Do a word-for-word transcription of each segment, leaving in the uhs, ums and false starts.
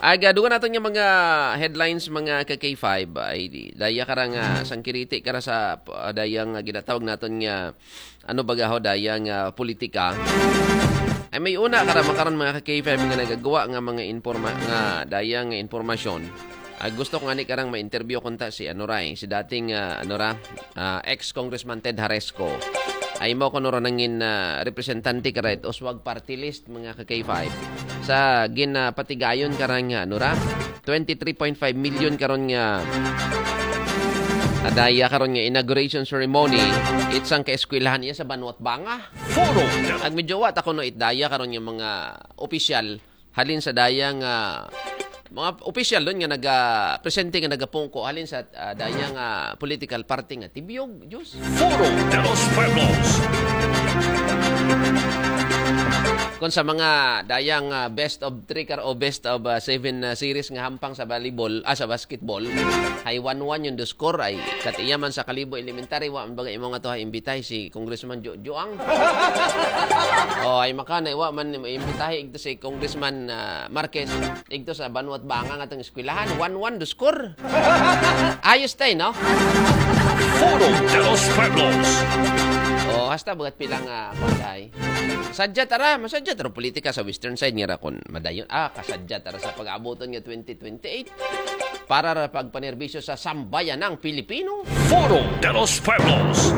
Aga, dugang naton nga mga headlines, mga ka K five, ay di, daya kara nga sangkiriti kara sa, ah, daya nga ginatawag naton nga, ano baga ho, daya nga politika. Ay may una kara makaron, mga ka K five, nga nagagawa nga mga informa-, nga daya nga impormasyon. Ay gusto ko nga ni karang ma-interview kunta si ano ray, si dating, ah, ano ra, ah, ex-congressman Ted Haresco. Ay mo kuno ra nangin, ah, representante kara it Uswag Party List, mga ka K five. Sa ginapatigayon karang nga, ano ra, twenty-three point five million karon nga, ah, daya karon nga inauguration ceremony, it sangka eskwelahan iya sa Banwat Banga. Foro. Ag medyo wa ta kuno it daya karon nga mga opisyal halin sa daya nga mga opisyal don nga naga-, presente nga nagapungko halin sa, ah, daya nga political party nga Tibyog, Diyos. Foro de los Pueblos. Kung sa mga daya nga best of three kar o best of, ah, seven, ah, series nga hampang sa volleyball, ah, sa basketball, hay one one yung score ay katiyaman sa Kalibo Elementary, wa man baga imo nga to ha imbitay si Congressman Jo-, Joang. Oh, ay maka na, wa man imbitahi igto si Congressman, ah, Marquez, igto sa Banwat Banga nga tong eskwelahan, one one do score. Ayos tay, no? Foro de los Pueblos. Oh, hasta bagat pilang, ah, pagay. Sadya tara, masadya tara politika sa Western Side nga ra kon madayon. Ah, kasadya tara sa pag-abuton nga twenty twenty-eight para ra pagpanerbisyo sa sambayan ng Pilipino. Foro de los Pueblos.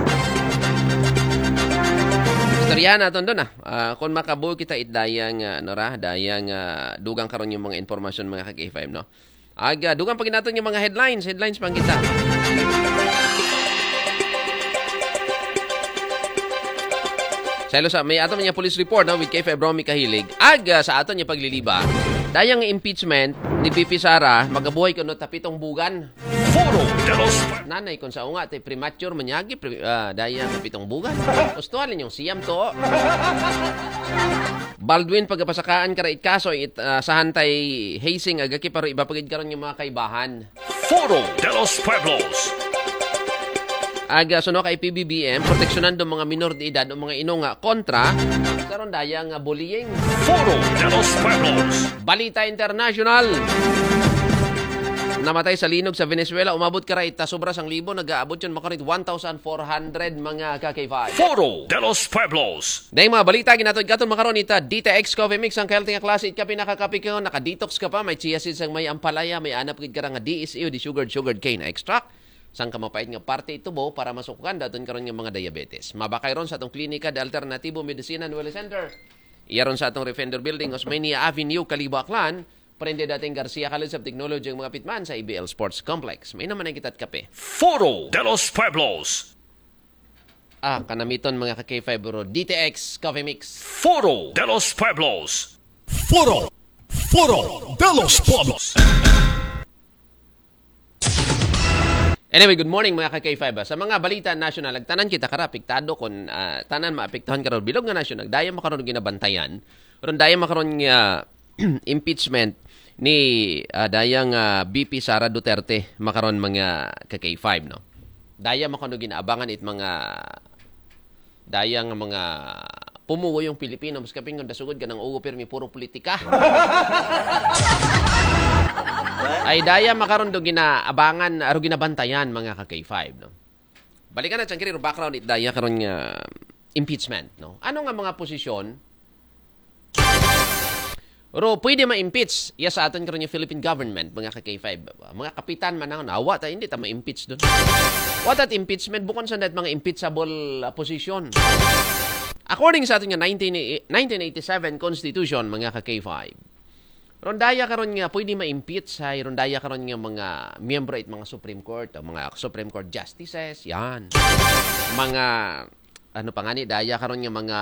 Istoryahan naton don, ah. Ah, kung makabuo kita it daya nga, ano ra, daya nga dugang karon yung mga impormasyon, mga ka K five, no? Aga, dugang pag naton yung mga headlines, headlines pang kita. Sa ilo sa, may aton niya police report, no, with K five Romy Kahilig. Aga, sa aton niya pagliliba, dayang impeachment ni V P Sara, magabuhay kuno ta pitong bugan. Foro de los Nanay, kung sa unga, te premature manyagi, pre, ah, dayang pitong bugan. Gusto halin yung siyam to. Baldwin, pagapasakaan kara it kaso, it, ah, sa hantay hazing, agaki paro iba pagid karon yung mga kaibahan. Foro de los Pueblos. Aga suno kay P B B M, proteksyonan do mga minor de edad o mga inunga kontra karon daya nga bullying. Foro de los Pueblos. Balita international. Namatay sa linog sa Venezuela, umabot kara it sobra sang libo, nagaabot yun makarit one thousand four hundred, mga ka K five. Foro de los Pueblos. Dahil mga balita, ginatod katon makaron ita, D T X Coffee Mix, ang healthy nga klase, it kape, nakakape ka, naka-detox ka pa, may chia seeds ang may ampalaya, may anap gid ka nga D S U, desugared, sugared cane extract. Sang kamapait nga parte ito bo para masukukan daton karon nga mga diabetes. Mabakay ron sa atong klinika de Alternatibo Medicina and Wellness Center. Iya ron sa atong Refender Building, Osmeña Avenue, Kalibo, Aklan. Prende dating Garcia College of Technology ang mga pitman sa A B L Sports Complex. May naman ang kita't kape. Foro de los Pueblos. Ah, kanamiton mga ka K five bro. D T X Coffee Mix. Foro de los Pueblos. Foro. Foro de los Pueblos. Anyway, good morning mga ka K five, ah. Sa mga balita national, nagtanan kita kara apektado kon, ah, tanan maapektuhan karo bilog nga nasyon, nagdaya makaron ginabantayan. Ron daya makaron nga impeachment ni, ah, daya nga V P Sara Duterte makaron mga ka K five, no. Daya makaron ginaabangan it mga daya nga mga pumugong Pilipino, mas kapingon dasugod ka ng ugo, pirmi puro politika. Ay daya makaron do ginaabangan, aro ginabantayan, mga ka K five, no? Balikan na, Changkiri, ro background it daya karon nga impeachment, no? Ano nga mga posisyon Ro, pwede ma-impeach iya sa aton karon nga Philippine government, mga ka K five. Mga kapitan man ang nawa ta, hindi ta ma-impeach doon. What that impeachment? Bukon sa that mga impeachable, ah, position. According sa aton nga nineteen, nineteen eighty-seven Constitution, mga ka K five. Rondaya karon nga pwede ma-impeach ay rondaya karon nga mga miyembro it mga Supreme Court, o mga Supreme Court justices, yan. Mga, ano pa nga ni, daya karon nga mga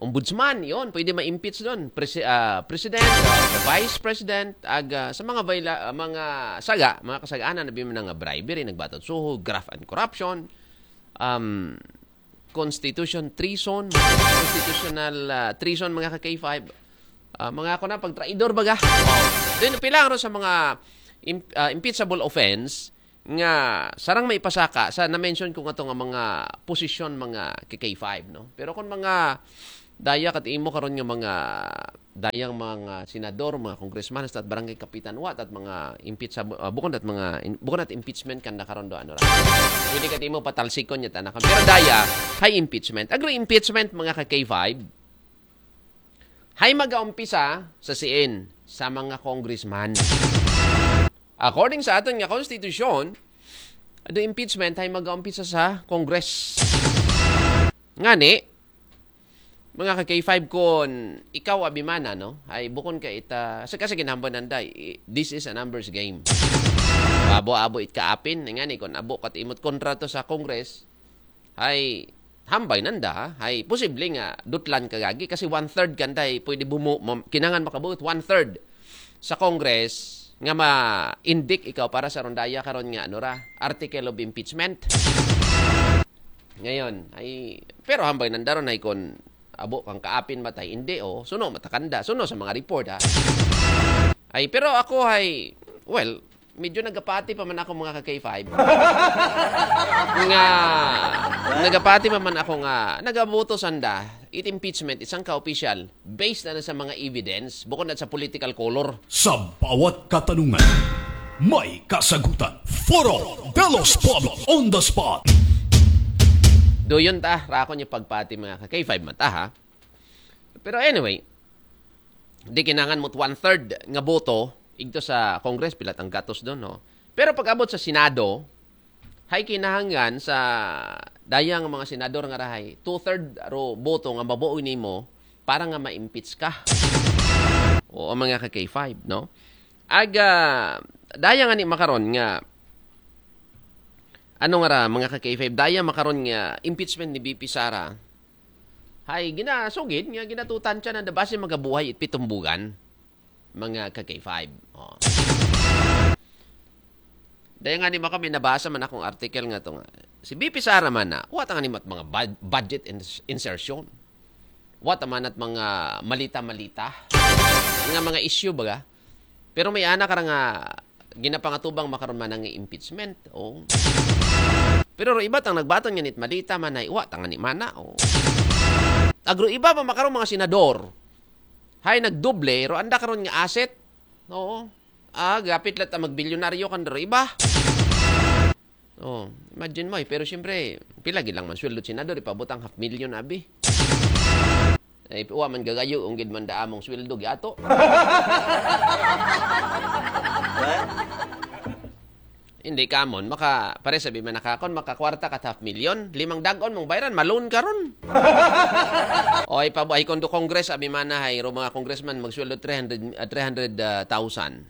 ombudsman, yon, pwede ma-impeach doon. Presi-, ah, president, ah, the vice president, ag, ah, sa mga viola-, ah, mga saga, mga kasagaanan, na biman nga bribery, nagbatot suho, graft and corruption, um, constitution treason, constitutional, ah, treason, mga ka K five. Ah, mga ako na, pagtraidor baga. Then, pilang ro sa mga im-, ah, impeachable offense, nga sarang maipasaka sa na-mention ko nga to nga mga posisyon, mga K K five, no? Pero kung mga, Daya kat imo karon nga mga dayang mga senador, mga congressman, at barangay kapitan, wa tat mga impeach sa, ah, bukon tat mga in- bukon tat impeachment kanda karon do, ano ra. Pwede kat imo patalsikon niya tanakan. Pero daya, hay impeachment. Agro impeachment, mga ka K five. Hay magaumpisa sa siin, sa mga congressman. According sa aton nga konstitusyon, do impeachment hay magaumpisa sa Congress. Ngani, mga ka K five, kon ikaw abimana, no? Ay bukon ka ita, sa kasi ginambo nanday, i- this is a numbers game. Abo-abo it kaapin, ngani kon abo kat imot kontrato sa Congress, ay hambay nanda, ha? Ay posible nga dutlan ka gagi kasi one-third kanday pwede bumu, mam- kinangan makabuot one-third sa Congress nga ma-indict ikaw para sa rondaya karon nga ano ra, article of impeachment. Ngayon, ay, pero hambay nanda ron ay kon abo kang kaapin matay, hindi, o, suno matakanda, suno sa mga report, ha. Ay, pero ako ay, well, medyo nagapati pa man ako, mga ka K five. Nga, nagapati pa man ako nga, nagaboto sanda, it impeachment, isang ka-official, based na sa mga evidence, bukod na sa political color. Sa bawat katanungan, may kasagutan. Foro de los Pueblos on the spot. Doyon ta, rakon yung pagpati, mga ka K five mata, ha. Pero anyway, di kinangan mo't one-third nga boto, igto sa Congress, pilat ang gatos doon, no? Pero pag abot sa Senado, hay kinahanglan sa dayang mga senador nga rahay, two-third ro boto nga mabuo nimo para nga ma-impeach ka. O ang mga ka K five, no? Aga, daya nga ni makaron nga, ano nga ra, mga ka K five, daya makaron nga impeachment ni V P Sara. Hay, ginasugid nga ginatutan siya na base magabuhay it pitumbugan, mga ka K five. Oh. Dahil nga ni mo kami nabasa man akong article nga to nga. Si V P Sara man na, wa ta nga ni mat mga bud- budget ins- insertion. Wa ta man at mga malita-malita. Nga mga issue baga. Pero may ana ka ra nga ginapangatubang makaron man ang impeachment. Oh. Pero ro iba tang nagbaton nga nit malita man ay wa ta nga ni mana. Oh. Agro iba pa makaron mga senador. Hay nagdoble, ro anda karon nga asset. Oo. Ah, gapit lang ta magbilyonaryo kan ro iba. Oh, imagine mo eh. Pero siyempre, pila gid lang man sweldo senador, ipabutang half million abi. Ay, wa man gagayo, unggid man da among sweldo, giato. Hindi ka mon, maka, pare sabi man nakakon, makakwarta ka half million, limang dagon mong bayran, malon karon. Oy, pabuhay kondo Congress, abi mana hay, ro mga congressman, magsweldo three hundred, ah, three hundred thousand.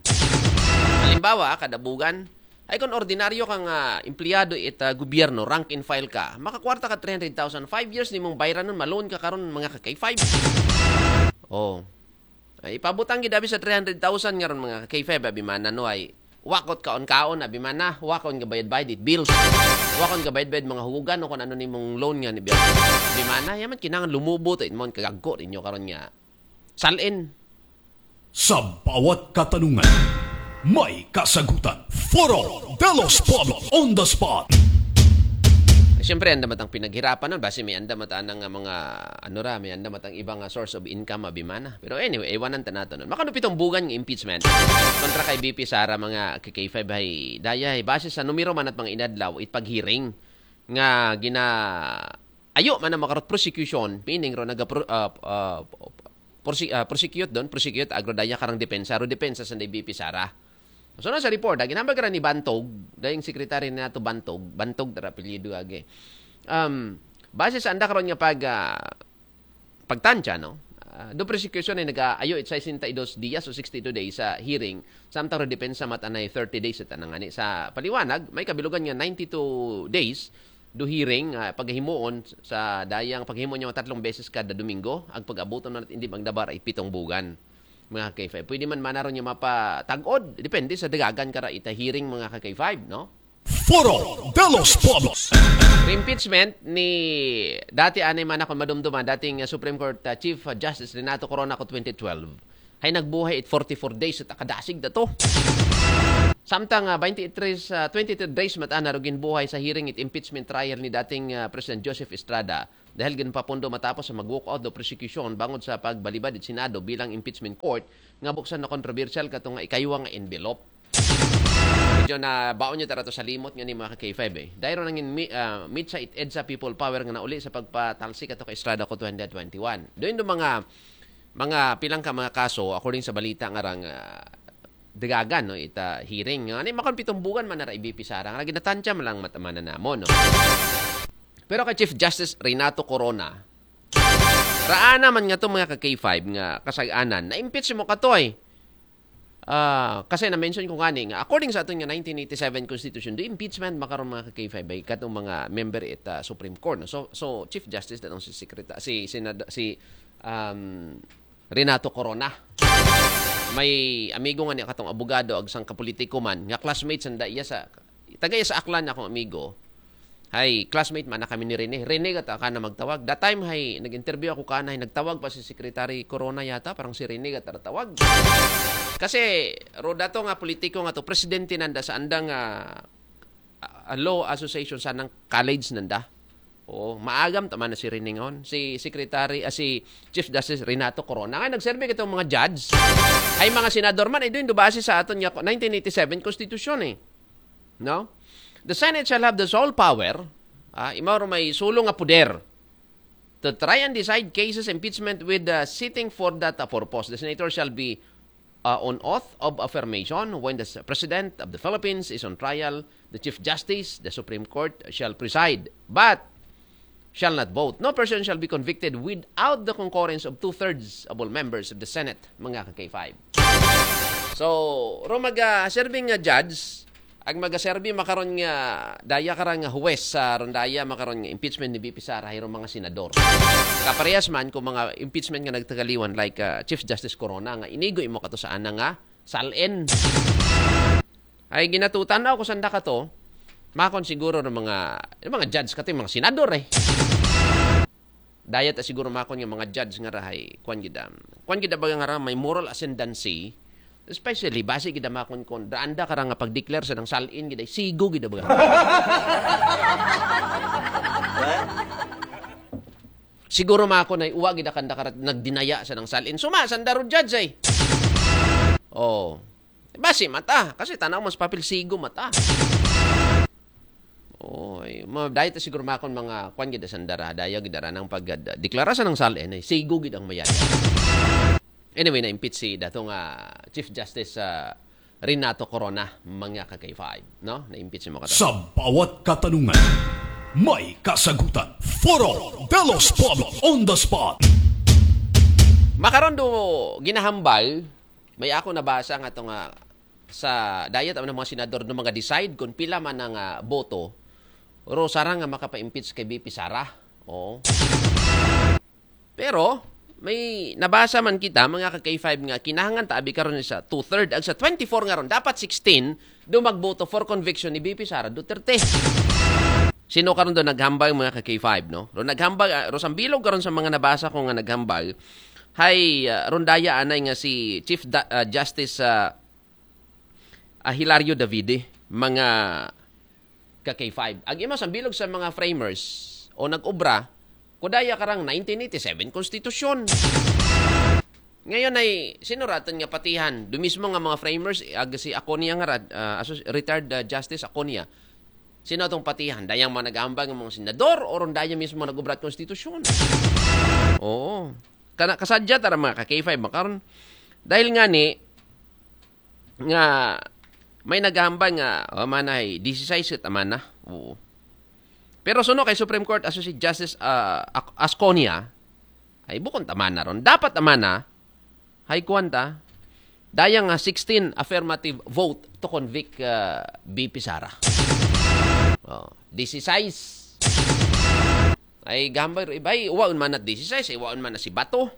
Halimbawa, kada bugan, ay kon ordinaryo kang ah, empleyado it ah, gobyerno, rank and file ka, makakwarta ka three hundred thousand, five years nimong bayranon, malon ka karon mga ka K five. Oh. Ay, ipabutang gid abi sa three hundred thousand nga ron mga ka K five, abi mana no ay wakot kaon-kaon, abi mana, wakon gabayad-bayad it bills. Wakon gabayad-bayad mga hugugan o kung ano nimong loan nga ni abi mana, yaman kinangan lumubo to inmon kagagko ninyo karon nga. Salin. Sa bawat katanungan, may kasagutan. Foro de los Pueblos on the spot. Siyempre, anda matang pinaghirapan nun. Basi may anda matang nga mga, ano ra, may anda matang ibang ah, source of income, abi mana. Pero anyway, iwanan ta nato nun. Makanupitong bugan nga impeachment. Kontra kay V P Sara mga K K five hay, daya hay, base sa numero man at mga inadlaw, it paghearing nga gina ayo man ang makarot prosecution, meaning ro naga pro, ah, ah, prosi- ah, prosecute doon, prosecute agro daya karang depensa, ro depensa sa V P Sara. So na sa report, ah, ginambag ra ni Bantog, dayang secretary na nato Bantog, Bantog tara apelyido agi. Um, base sa anda karon nga pag ah, pagtansya, no? Ah, do prosecution ay nag-aayo it sixty-two days o sixty-two days sa hearing, samtang ro depensa matanay thirty days sa tanang ani. Sa paliwanag, may kabilugan nga ninety-two days do hearing ah, paghimuon sa dayang paghimo niya tatlong beses kada Domingo, ang pag-abuton na hindi magdabar ay pitong bugan. Mga ka K five. Pwede man manaron niya mapatagod, depende sa dagagan kara ita hearing mga ka K five, no? Foro de los Pueblos. Impeachment ni dati anay man akong madumduman, dating uh, Supreme Court uh, Chief uh, Justice Renato Corona ko twenty twelve. Hay nagbuhay it forty-four days at akadasig na to. Samtang uh, twenty-three, uh, twenty-three days mata na rugin buhay sa hearing it impeachment trial ni dating uh, President Joseph Estrada. Dahil ginpapundo matapos sa mag-walkout do prosecution bangod sa pagbalibad it Senado bilang impeachment court nga buksan na kontrobersyal kato nga ikaywa nga envelope. Medyo na baon nyo tara to sa limot nga ni mga ka-K five eh. Dahil nangin mi, uh, mitsa it EDSA People Power nga nauli sa pagpatalsik ato kay Estrada ko twenty twenty-one. Doon do mga mga pilang ka mga kaso according sa balita nga rang uh, dagagan no ita hearing nga ni makon pitumbugan man nara I B P Sara nga ginatantya man lang matamana namo no. Pero kay Chief Justice Renato Corona, raana man nga to mga ka-K five nga kasag-anan, na-impeach mo katoy. Ah, kasi na-mention ko gani nga according sa aton nga nineteen eighty-seven Constitution, do impeachment makaron mga ka-K five ay katong mga member it ah, Supreme Court. No? So so Chief Justice datong si Secretary si Senado si um, Renato Corona. May amigo nga niya katong abogado ag sang kapolitiko man nga classmates nanda iya sa taga iya sa Aklan akong amigo. Hay, classmate man na kami ni Rene. Rene gata ka na magtawag. That time hay nag-interview ako kana hay nagtawag pa si Secretary Corona yata, parang si Rene gata tawag. Kasi ro dato nga politiko nga to presidente nanda sa andang ah, ah, law association sa nang college nanda. Oh, maagam tama na si Rene ngon. Si Secretary ah, si Chief Justice Renato Corona nga nagserbi kitong mga judge. Ay mga senador man ay doon do base sa aton nga nineteen eighty-seven Constitution eh. No? The Senate shall have the sole power, ah, imaw may sulong nga poder to try and decide cases impeachment with the sitting for that uh, purpose. The senator shall be uh, on oath of affirmation when the s- president of the Philippines is on trial. The Chief Justice, the Supreme Court, shall preside, but shall not vote. No person shall be convicted without the concurrence of two-thirds of all members of the Senate, mga ka-K five. So, ro mag uh, serving nga judge, ag magaserbi makaron nga daya karang nga huwes sa ron daya makaron nga impeachment ni B P Sara hayro mga senador. Kaparehas man kung mga impeachment nga nagtagaliwan like uh, Chief Justice Corona nga inigo imo kato sa ana nga salen. Ay ginatutan na ako sanda kato. Makon siguro ng mga ng mga judge kato yung mga senador eh. Dayat siguro makon nga mga judge nga rahay kuan gid am. Kuan gid baga nga ra may moral ascendancy, especially base gid makon kon daanda ka ra nga pag-declare sa nang salin gid ay sigo gid baga. Siguro makon ay uwa gid kanda ka ra nagdinaya sa nang salin. Suma sandaro judge ay. Oh. Basi mata kasi tanaw mas papel sigo mata. Oy, ma dahil ta siguro makon mga kwan gid sandara, daya gid ara nang pagdeklara sa nang sal eh, sigo gid ang mayad. Anyway, na-impeach si dato nga Chief Justice uh, Renato Corona, mga ka-K five, no? Na-impeach mo kata. Sa bawat katanungan, may kasagutan. Foro de los Pueblos on the spot. Makaron do ginahambal, may ako nabasa nga to nga sa dayat ang mga senador no mga decide kung pila man ang uh, boto ro sarang nga makapa-impeach kay B P Sara. Oo. Pero may nabasa man kita mga ka-K five nga kinahangan ta abi karon sa two-third ag sa twenty-four nga ron dapat sixteen do magboto for conviction ni B P Sara Duterte. Sino karon do naghambal mga ka-K five no? Ro naghambal uh, ro sambilog karon sa mga nabasa ko nga naghambal. Hay uh, ron daya anay nga si Chief da, uh, Justice uh, uh, Hilario Davide, mga ka-K five. Ag imo sambilog sa mga framers o nag-obra, kudaya karang nineteen eighty-seven konstitusyon. Ngayon ay sinuratan nga patihan, do mismo nga mga framers, ag si Aconia nga rad, uh, asos, retired uh, Justice Aconia. Sino atong patihan? Dayang mga nag-aambag ng mga senador o ron daya mismo nag-obrat konstitusyon? Oo. Kana kasadya tara mga ka-K five makaron. Dahil nga ni nga may naghambal nga oh, manay disisay sit amana. Oo. Pero suno kay Supreme Court aso si Justice uh, Asconia ay bukon tamana ron. Dapat amana hay kuwanta daya nga sixteen affirmative vote to convict uh, B P Sara. Oh, disisay ay gambay ibay waon man at disisay ay waon man na si Bato.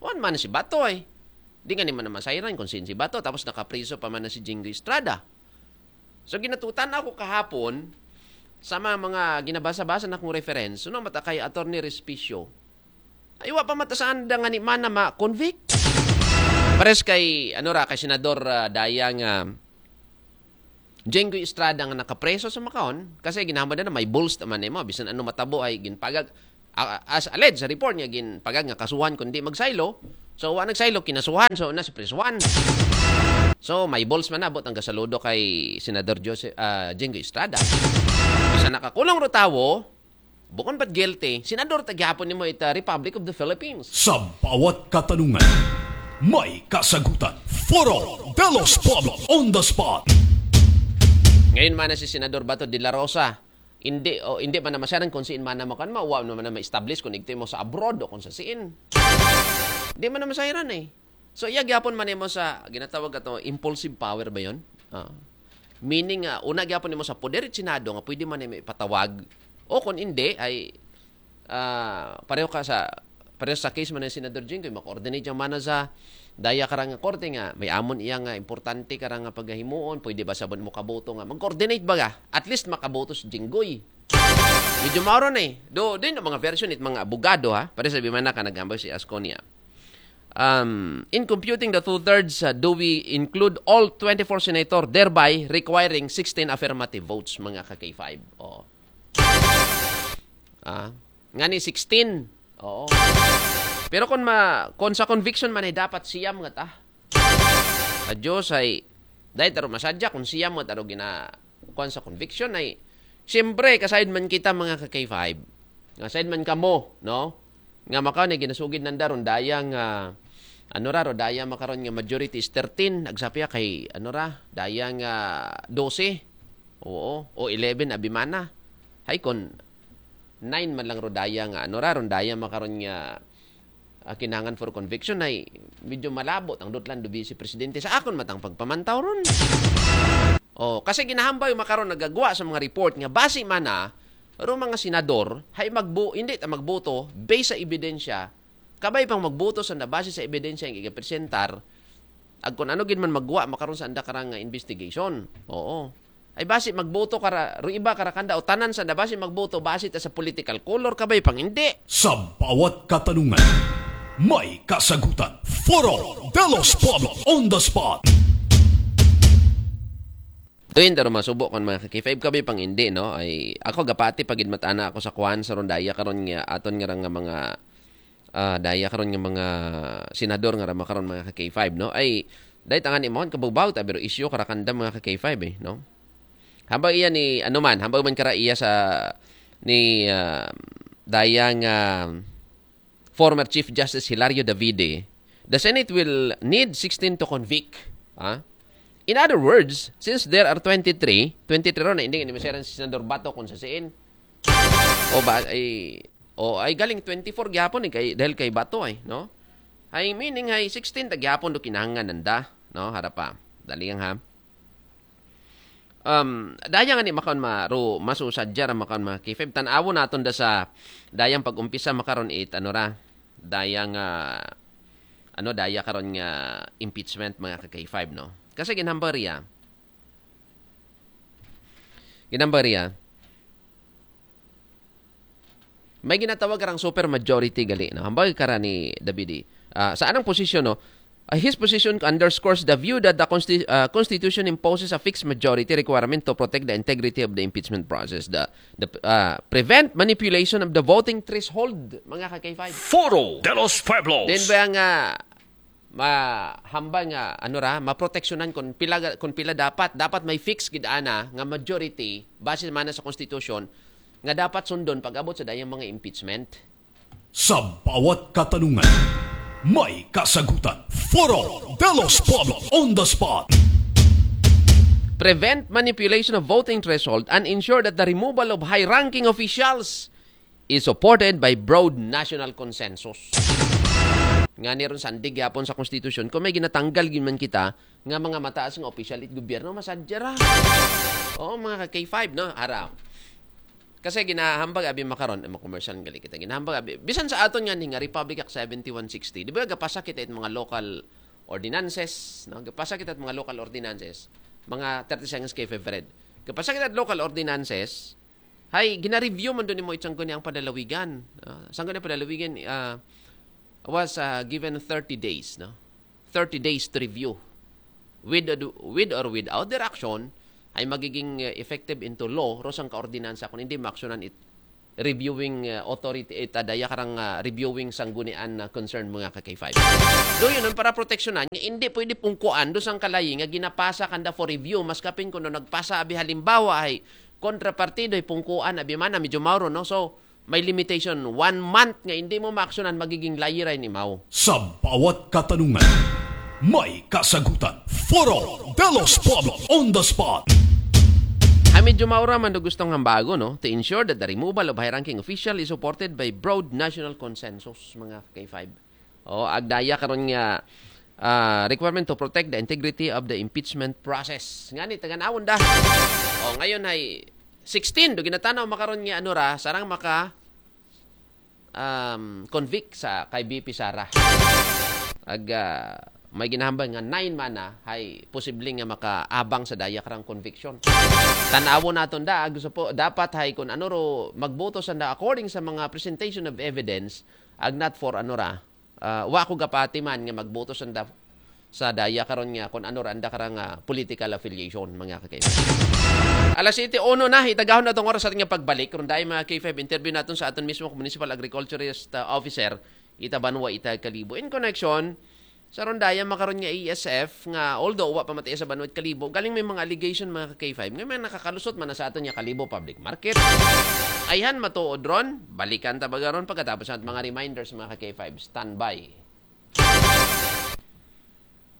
Wan man si Bato ay. Di nga ni man naman sayran kung sin si Bato tapos nakapriso pa man na si Jinggoy Estrada. So ginatutan ako kahapon sa mga, mga ginabasa-basa na kong reference, no, mata kay Attorney Respicio. Ay wa pa mata saan da nga ni man na ma-convict. Pares kay ano ra kay Senador uh, Dayang uh, Jinggoy Estrada nga nakapreso sa Macau kasi ginahambal na may bulls naman nimo bisan ano matabo ay ginpagag ah, as alleged sa report nga ginpagag nga kasuhan kung di magsaylo. So, wa nagsaylo, kinasuhan. So, na si prisuhan. So, may balls man na, abot ang gasaludo kay Senador Joseph, ah, Jinggoy Estrada. Sa nakakulong ro tawo, bukon ba't guilty, senador ta gyapon nimo ita Republic of the Philippines. Sa bawat katanungan, may kasagutan. Foro de los Pueblos on the spot. Ngayon man na si Senador Bato de la Rosa, hindi, o hindi man na masaran kung siin man na makan, mawa naman na ma-establish kung igto mo sa abroad o kung sa siin. Di man na masayran eh. So, iya gyapon man mo sa ginatawag ato impulsive power ba yon? Ah. Meaning, ah, una gyapon mo sa poder at Senado nga pwede man mo ipatawag. O kung hindi, ay ah, pareho ka sa pareho sa case man ni Senador Jinggoy, ma-coordinate yung mana sa daya karang nga korte nga may amon iya nga importante karang nga pagahimuon, pwede ba sabon mo kaboto nga mag-coordinate ba ga? At least makaboto si Jinggoy. Medyo mao ron eh. Do, din ang mga version it mga abogado ha. Pare sa bimana ka nagambay si Asconia. Um, in computing the two-thirds, uh, do we include all twenty-four senator, thereby requiring sixteen affirmative votes, mga ka-K five? Oh. Ah, nga ni sixteen. Oo. Pero kung ma, kung sa conviction man ay dapat siyam nga ta. Sa Diyos ay, dahil taro masadya kung siyam nga taro gina, kung sa conviction ay, siyempre, kasayod man kita mga ka-K five. Nga sayod man kamo, no? Nga makaw na ginasugid nanda ron dayang, ah, ano ra, ro, dayang makaron nga majority is thirteen, agsapya kay, ano ra, dayang, ah, doce. Oo, o eleven, abimana. Hay kon, nine man lang rodaya nga, ano ra, rodaya makaron nga, ah, kinangan for conviction ay medyo malabo tang dutlan do Vice Presidente sa akon matang pagpamantaw ron. Oh, kasi ginahambay makaron nagagwa sa mga report nga basi man na ro mga senador hay magbo hindi ta magboto based sa ebidensya, kabay pang magboto sa nabase sa ebidensya nga igapresentar, ag kun ano gid man magwa makaron sa anda karang nga investigation. Oo. Ay basi magboto kara, ro iba kara kanda o tanan sa nabase magboto base ta sa political color, kabay pang hindi. Sa bawat katanungan, may kasagutan. Foro de los Pueblos on the spot. Tuin taro masubo kon mga ka-K five, kabay pang hindi, no? Ay, ako gapati pagid matana ako sa kwan sa rondaya karon nga aton nga ra nga mga, ah, daya karon nga mga senador nga ra makaron mga ka-K five, no? Ay, dahil tangan imahon kabubaw ta pero isyu karakanda mga ka-K five eh, no? Hambag iya ni, ano man, hambag man kara iya sa ni, ah, daya nga former Chief Justice Hilario Davide, the Senate will need sixteen to convict. Ah? In other words, since there are twenty-three, twenty-three ron na hindi ni maseran si Senador Bato kung sa siin. O ba, ay, o ay galing twenty-four gyapon eh, kay, dahil kay Bato ay, no? Ay meaning ay sixteen ta gyapon do kinahanglan nanda, no? Harap pa. Dali lang ha. Um, daya nga ni makaon ma, ro, masusadya ra makaon mga K five. Tan-awon naton da sa dayang pag-umpisa makaron it, ano ra, dayang, ah, ano, daya karon nga impeachment mga ka-K five, no? Kasi ginhambariya, ginhambariya, may ginatawag karang super majority gali, no? Hambal kara ni Davide. Ah, sa anang posisyon, no? Ah, his position underscores the view that the consti-, ah, Constitution imposes a fixed majority requirement to protect the integrity of the impeachment process, the, the, ah, prevent manipulation of the voting threshold, mga ka-K five. Foro de los Pueblos. Then ba nga mahambal nga, ano ra, maproteksyonan kung pila, kung pila dapat, dapat may fix gid ana nga majority base man sa konstitusyon nga dapat sundon pag-abot sa dayang mga impeachment. Sa bawat katanungan, may kasagutan. Foro de los Pueblos on the spot. Prevent manipulation of voting threshold and ensure that the removal of high-ranking officials is supported by broad national consensus. Nga ni ron sandig yapon sa konstitusyon, kung may ginatanggal gid man kita nga mga mataas nga opisyal it gobyerno, masadya ra. Oo, mga ka-K five, no? Ara. Kasi ginahambag abi makaron, eh, commercial gali kita. Ginahambag abi. Bisan sa aton nga ni nga Republic Act seventy-one sixty, di ba gapasa kita it mga local ordinances, no? Gapasa kita it mga local ordinances, mga thirty seconds kay favorite. Gapasa kita it local ordinances, hay, gina-review man doon mo itsang ang padalawigan. Ah, sangko ni padalawigan, ah, was, ah, given thirty days, no? Thirty days to review. With, with or without their action, ay magiging, eh, effective into law, ro sang kaordinansa kung hindi maaksyonan it, reviewing uh, authority, eh, ta daya karang uh, reviewing sanggunian na concern mga ka K five. Do yun, para proteksyonan, nga hindi pwede pungkuan do sang kalayi nga ginapasa kanda for review, mas kapin kuno nagpasa abi halimbawa ay kontrapartido ay pungkuan abi mana medyo mauro, no? So, may limitation, one month nga hindi mo maaksyonan magiging layiray ni Mao. Sa bawat katanungan, may kasagutan. Foro de los Pueblos on the spot. Ay medyo maura man do gustong hambago, no? To ensure that the removal of high-ranking official is supported by broad national consensus, mga K five. O, agdaya karon nga ah, requirement to protect the integrity of the impeachment process. Ngani, taganawon da. O, ngayon ay sixteen, do ginatanaw makaron nga ano ra, sarang maka um, convict sa kay B P Sara. Ag ah, may ginahambal nga nine man na hay posible nga makaabang sa daya karang conviction. Tanawon naton da, ag gusto po, dapat hay kung ano ro magboto sanda according sa mga presentation of evidence, ag not for ano ra, ah, wa ko gapati man nga magboto sanda sa daya karon nga kung ano ra anda karang ah, political affiliation, mga kakaiba. Alas siyete uno na, itagahon na tong oras sa ating pagbalik. Karon dahil mga K five interview natin sa aton mismo municipal agriculturist ah, officer, ita banwa ita Kalibo. In connection sa rondaya makaron nga A S F nga although wa pa matiya sa banwa Kalibo, galing may mga allegation mga K five nga may nakakalusot man na sa aton nga Kalibo Public Market. Ayhan matuod ron, balikan ta baga ron pagkatapos ng mga reminders mga K five. Standby.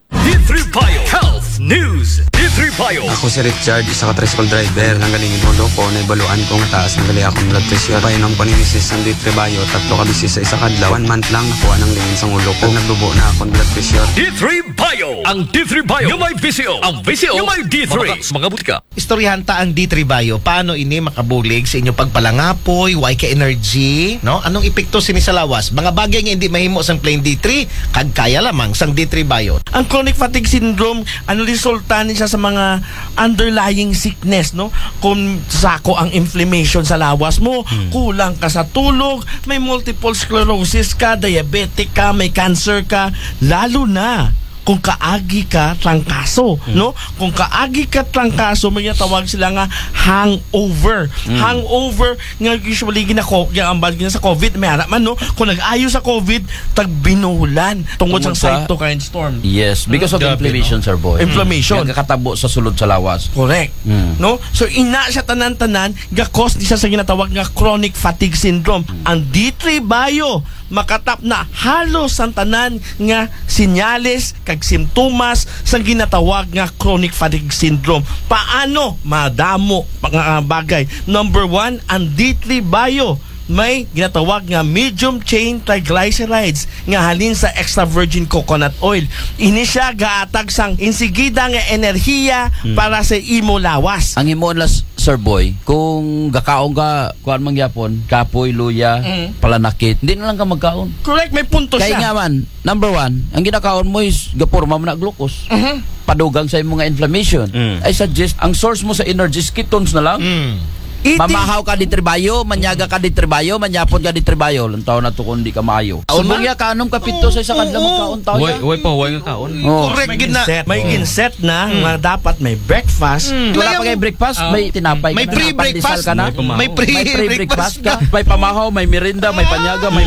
D three Bio Health News. D three Bio. Ako si Richard, isa ka tricycle driver. Nanggaling yung ulo ko, naibaluan ko nga taas na gali akong blood pressure. Painom ko ni Misis ng D three Bio, tatlo ka bisis sa isa kadlaw. One month lang, nakuha ng lingin sa ulo ko. Nagdubo na akong blood pressure. D three Bio. Ang D three Bio. Yung may V C O. Ang V C O. Yung may D three. Mga, mga butika. Istoryahan ta ang D three Bio. Paano ini makabulig sa inyo pagpalangapoy, way ka energy, no? Anong epekto sini sa lawas? Mga bagay nga hindi mahimo sang plain D three, kag kaya lamang sang D three Bio. Ang chronic fatigue syndrome, ano resulta ni siya sa mga underlying sickness, no? Kung sako ang inflammation sa lawas mo, hmm. Kulang ka sa tulog, may multiple sclerosis ka, diabetic ka, may cancer ka, lalo na kung kaagi ka trangkaso, mm. No? Kung kaagi ka trangkaso, may tawag sila nga hangover. Mm. Hangover nga usually ginako, ginambal gina sa COVID, may ara man, no? Kung nag-ayo sa COVID, tagbinulan tungod, tungod sa cytokine storm. Yes, because of inflammation, sir boy. Inflammation. Nagkakatabo sa sulod sa lawas. Correct. Mm. No? So, ina siya tanan-tanan, gakos di siya sa ginatawag nga chronic fatigue syndrome. Mm. Ang D three Bio, makatap na halos ang tanan nga sinyales kag simptomas sa ginatawag nga chronic fatigue syndrome. Paano madamo mga bagay? Number one, ang D three Bio may ginatawag nga medium chain triglycerides nga halin sa extra virgin coconut oil. Ini siya gaatag sang insigida nga enerhiya hmm. Para sa imo lawas. Ang imo las Sir Boy, kung gakaon ka, kuan man gyapon, kapoy, luya, mm. Palanakit, hindi na lang ka magkaon. Correct, may punto kay siya. Kaya nga man, number one, ang ginakaon mo is gapurma mo na glucose. Mm-hmm. Padugang sa imong inflammation. Mm. I suggest, ang source mo sa energy is ketones na lang. Mm. Mamahaw ka di tribayo, manyaga ka di tribayo, manyapon ka di tribayo. Lantaw na to kung di ka maayo. Subong ya ka, anong kapito sa isa kadlaw magkaon taon? Way, way pa, way nga kaon. Oh. Correct, may gina, may ginset na, mm. Nga dapat may breakfast. Mm. Wala pa kay breakfast, oh. May tinapay may ka na, may pre-breakfast ka na. May pre-breakfast ka. May pamahaw, may merienda, may panyaga, may